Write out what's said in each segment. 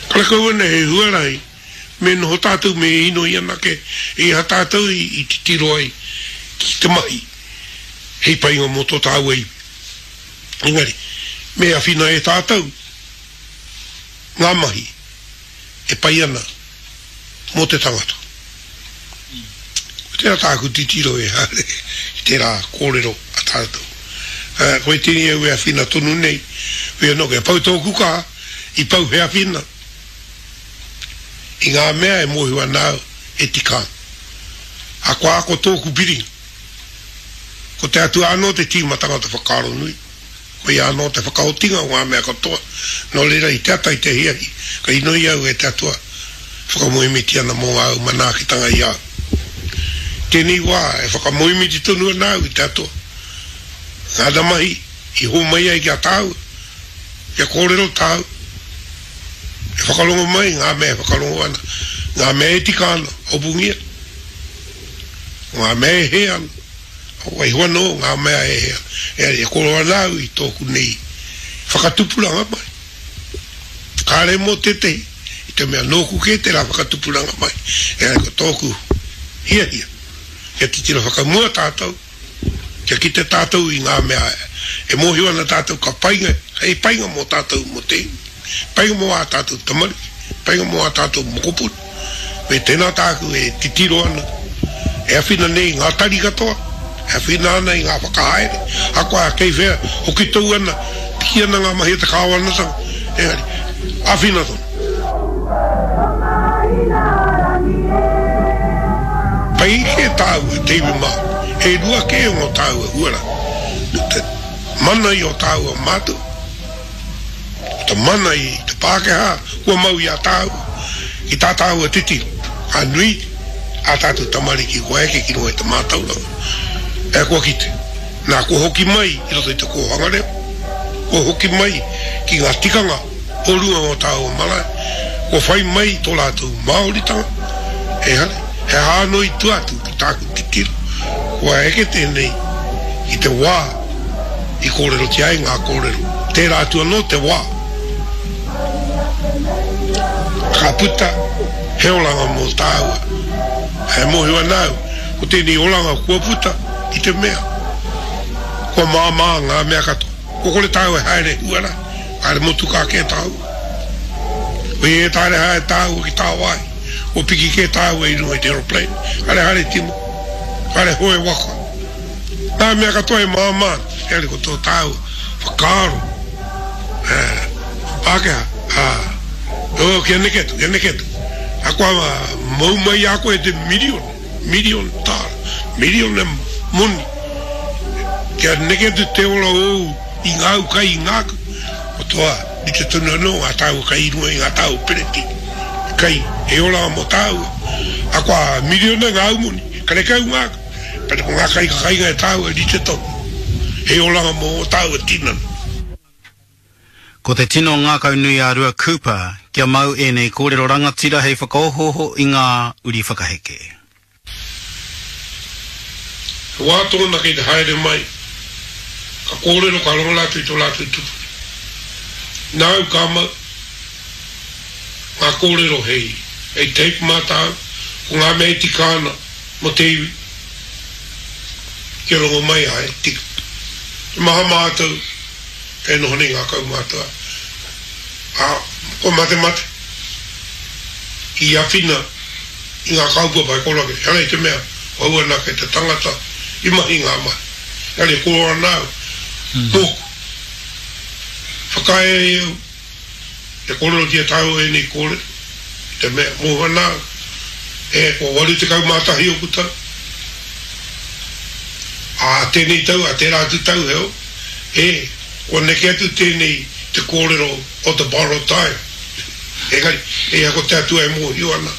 Karekau ana he huarahi me noho tātou me inoi anake i aha tātou i titiro ai ki te mahi hei painga mō tō tāua iwi. Engari, me awhina e tātou ngā mahi e pai ana mō te tangata. Ko tērā tāku titiro e haere ki tērā kōrero a tātou. Koe tēnei au e awhina tonu nei, whea anō kia pau tōku kaha, i pau he awhina i ngā mea e mōhio ana au e tika ana. Akoa ako tōku piringa. Ko te Atua anō te tīmatanga o te whakaaro nui. Koia anō te whakaotinga o ngā mea katoa. Nō reira, i te ata, i te ahiahi, ka inoi au e te Atua, whakamoemiti ana mō āu manaakitanga i a au. I tēnei wā, e whakamoemiti tonu ana au i te Atua, ngāna mahi i hōmai ai ki a tāua, kia kōrero tāu, e whakarongo mai ngā mea e whakarongo ana, ngā mea e tika ana, hopungia, ko ngā mea e hē ana. Waiho anō ngā mea e e koro ana au i tōku nei whakatupuranga mai. Kāre mō tētehi, i te mea nōku kē tērā whakatupuranga mai, engari ko tōku hiahia, kia titiro whakamua tātou, kia kite tātou i ngā mea e mōhio ana tātou ka painga, hei painga mō tātou mō te iwi. Painga mō ā tātou tamariki, painga mō ā tātou mokopuna. Me tēnā tāku e titiro ana, e awhina nei i ngā tari katoa, e awhina ana i ngā whakahaere, ahakoa kei whea, hoki tou ana, piki ana ngā mahi a te kāwanatanga, engari, awhina tonu. Pai kē tāua, te iwi Māori, e rua kē ngō tāua huarahi, ko te mana i ō tāua mātua, Ko te mana i te Pākehā kua mau i a tāua, ki tā tāua titiro, ka nui ā tātou tamariki kua eke ki runga i te mātauranga, e kua kite. Nā, kua hoki mai i roto i te kōhanga reo, kua hoki mai ki ngā tikanga o runga o tāua marae, kua whai mai i tō rātou Māoritanga, ehara, he aha anō i tua atu ki tāku titiro, kua eke tēnei ki te wā i kōrerotia ai ngā kōrero. Tērā atu anō te wā ka puta he oranga mō tāua. E mōhio ana au, ko tēnei oranga kua puta i te mea kua māmā ngā mea katoa. Kua kore tāua e haere huarahi, haere motukā kē tāua. Koia e taere haere tāua ki tāwāhi, kua piki kē tāua i runga i te aeroplane, haere haere tima, haere hoe waka. Ngā mea katoa e māmā ana, engari ko tō tāua whakaaro, ā, Pākehā, ā, oh, kia neke atu, kia neke atu. Akoa mau mai i a koe te miriona, miriona tāra, miriona moni, kia neke atu te ora ōu i ngāu kai i ngāku, ko toa, rite tonu anō ngā tāua kai i runga i ngā tāua pereti, kai hei oranga mō tāua. Akoa miriona ngāu moni, karekau ngāku. Pēnā ko ngā kai ka kainga e tāua e rite tonu, hei oranga mō ō tāua tinana. Ko te tino ngākaunui a Rua Cooper kia mau ēnei kōrero rangatira hei whakaohooho i ngā uri whakaheke. He wā tōna kei te haere mai, ka kōrero, ka rongo rātou i tō rātou tupuna. Nāu ka mau ngā kōrero hei, hei tape mā tāu, ko ngā mea e tika ana, Mo te iwi, kia rongo mai ai, tika. He maha mātou e noho nei ngā kaumātua, ā, kua matemate i awhina i ngā kaupapa e koro ake. Ehara i te mea ko au anake te tangata i mahi ngā mahi, engari e koro ana au, mōku. Whakaae ai au Kia kōrerotia tāua ēnei kōrero, i te mea, mōhio ana au, e, kua 81 ōku tau. Ā tēnei tau, ā tērā atu tau, heoi, e, kua neke atu tēnei te kōrero o the borrowed time. Engari, e ia ko te Atua e mōhio ana,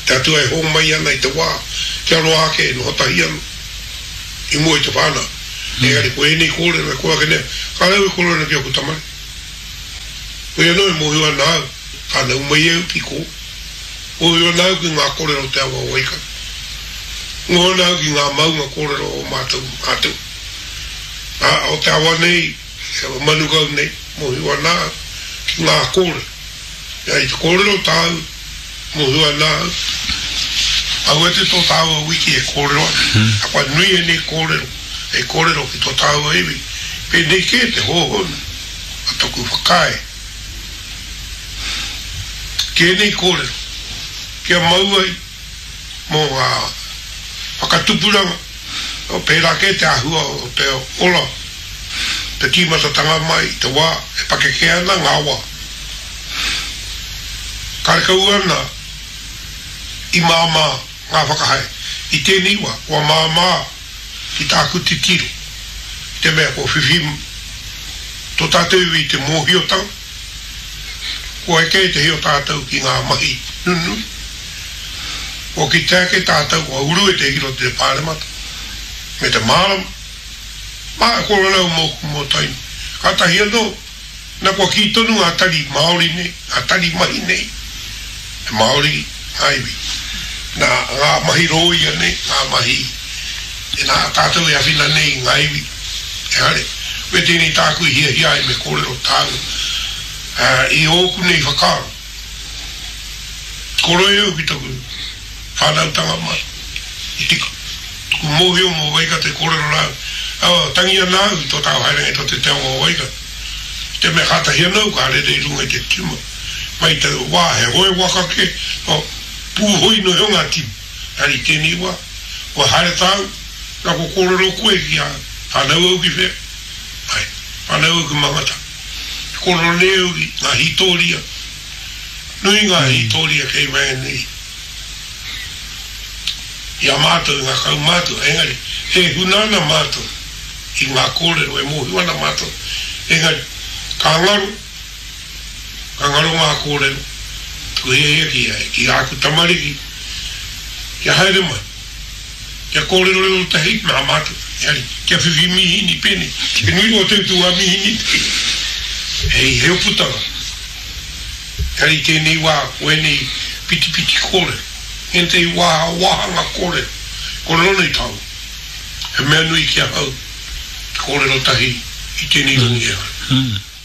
te Atua e hōmai ana i te wā kia roa ake e noho tahi ana i mua i te whānau. Engari, ko ēnei kōrero e kore ake nei, kāore au e kōrero ana ki ōku tamariki. Koia anō e mōhio ana au, whānau mai au ki kō. Mōhio ana au ki ngā kōrero o te awa o Waikato. Mōhio ana au ki ngā maunga kōrero o mātou mātou. Ā, o te awa nei, te awa Manukau nei, mōhio ana au ki ngā kōrero. Ia i te kōrero tāu, mōhio ana au, aua te tō tāua wiki e kōrero ana, akoa nui ēnei kōrero, hei kōrero ki tō tāua iwi, pēnei kē te hōhonu o taku whakaae ki ēnei kōrero, kia mau ai mō ngā whakatupuranga, pērā kē te āhua o te ora, te tīmatatanga mai i te wā e pakeke ana ngā wā. Karekau ana i māmā ngā whakahaere. I tēnei wā, kua māmā ki tāku titiro, i te mea kua whiwhi tō tātou iwi i te mōhiotanga, kua eke ētehi o tātou ki ngā mahi nunui, kua kite ake tātou kua uru ētehi ki roto i te Pāremata, me te mārama, mā, kua rarau mōku mō Tainui. Kātahi anō, Na kua kī tonu ngā tari Māori nei, ngā tari mahi nei, he Māori ngā iwi. Na ngā mahi rōia nei, ngā mahi, nā tātou e awhina nei i ngā iwi, ehare, me tēnei tāku i hiahia ai me kōrero tāua, i ōku nei whakaaro. Koroi au ki taku whānautanga mai, i tika. Taku mōhio mō Waikato i kōrero rā au, oh, tangi ana au i tō tāua haerenga i tō te te awa o Waikato. I te mea kātahi anō au ka rere i runga i te tima. Mai i taua wā, he hoe waka kē, oh, pūhoi noa iho ngā tima. Engari i tēnei wā, kua haere tāu, nā kua kōrero koe ki a whānau au ki whea? Āe, whānau au ki Mangatā. E kōrero nei au ki ngā hītōria Nui ngā hītōria kei waenganui i a mātou i ngā kaumātua, engari e huna ana mātou i ngā kōrero e mōhio ana mātou, engari ka ngaro, ka ngaro ngā kōrero, taku hiahia ki a, ki āku tamariki, kia haere mai, kia kōrerorero tahi mā mātou, engari kia whiwhi mīhini pēnei, he nui rawa te utu o ngā mīhini nei, hei heo putanga. Engari i tēnei wā ko ēnei pitipiti kōrero, ēnei wā wāhanga kōrero, kōrero nei tāu. He mea nui ki ahau te kōrero tahi i tēnei rangi e ai.